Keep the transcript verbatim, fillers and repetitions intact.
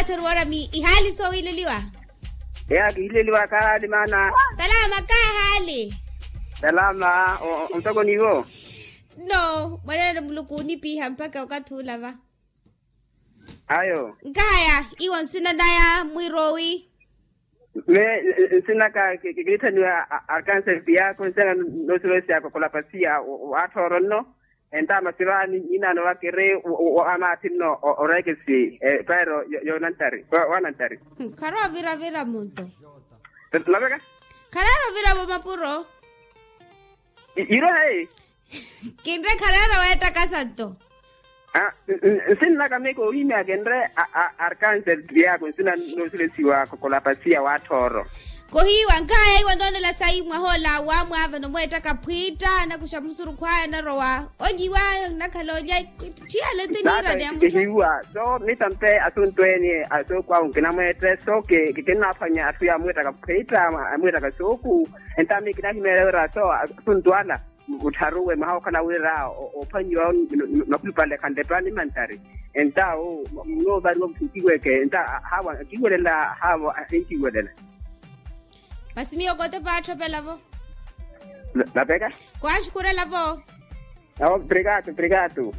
Sirwarami ihaali soowileliwa. Eya kihileliwa kahaali maana. Salama kahaali. Salama. Ontoko niiwo? No mwanene muluku onipiha mpakha okathi olava. Ayo. Nkahaya iwo nsina naya mwirowi. Me nsinaka kiriitthaniwa arkanse piyako nsina noosirosiyako kolapasiya. Waatthoro nno. Entaama sirwaani nyinaano wakiri wamaathi nno oreekesi. Pairo yoonantari wanantari. Kharoovira vira munto. Naveka. Khareero vira vomapuro. Yiro hayi. Kinre khareero weettaka santo. Nsinnaka meke ohimya kinre arkanse piyako nsina noosirosiwa kolapasiya waatthoro. Kohiiwa nkahaya iwo noonela sayi mwahoola wamwaava nomweettaka phwiitta anakuxa musurukhu aya anarowa. Onyiwa nakhala olya. Tthiyale tiniirani ya mutthu. Kihiiwa so mitampe asuntu eni asooku ahu nkinamweette so kikinnaphwanya atthu yamweettaka phwiitta amweettaka sooku. Entaami kinahimeela wira so asuntu ala muttharuwe mwaha okhala wira ophwanyiwa. Nakhulupale khanlepa nimantari entawo. Munoovariwa mutthu nkiweke enta haavo akiwelela haavo. Enkiwelela. Masi miyo kote paatthoppelavo. Napeka. Kwaaxukurelavo. Obrigado obrigado.